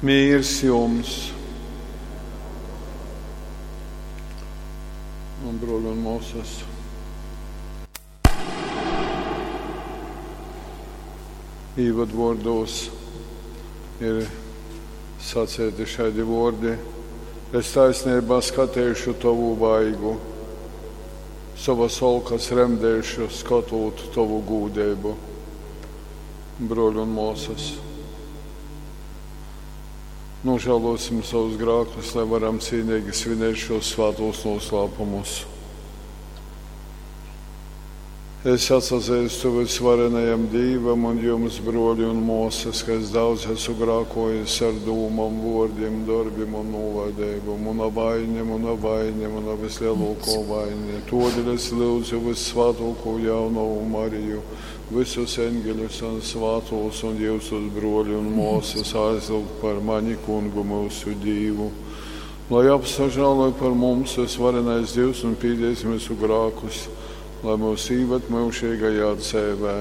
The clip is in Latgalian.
Mīrs jums! Un, bruoļi un muosys, īvadvuordūs ir saceiti šaidi vuordi: Es taisneibā skateišu tovu vaigu, sovas olkas remdeišu, skotūt tovu gūdeibu. Bruoļi un muosys, nožālosim savus grākus, lai varam cīnīgi svinēt šos svātos noslēpumus. Es atsazeistu vysvarenajam Dīvam un jums, bruoļi un muosys, ka es daudz esmu grākojis ar dūmom, vuordim, dorbim un nūlaideibu. Muna vaine, muna vaine, muna vislielākā vaine. Todēļ es lūdzu vyssvātāko jaunavu Mariju, visus eņģeļus un svātos un jyusus, bruoļi un muosys, aizlyugt par mani Kungu myusu Dīvu. Lai apsažāloj par mums vysvarenais Dīvs un pīdīs myusu grākus, lai mūs īvad myužīgajā dzeivē.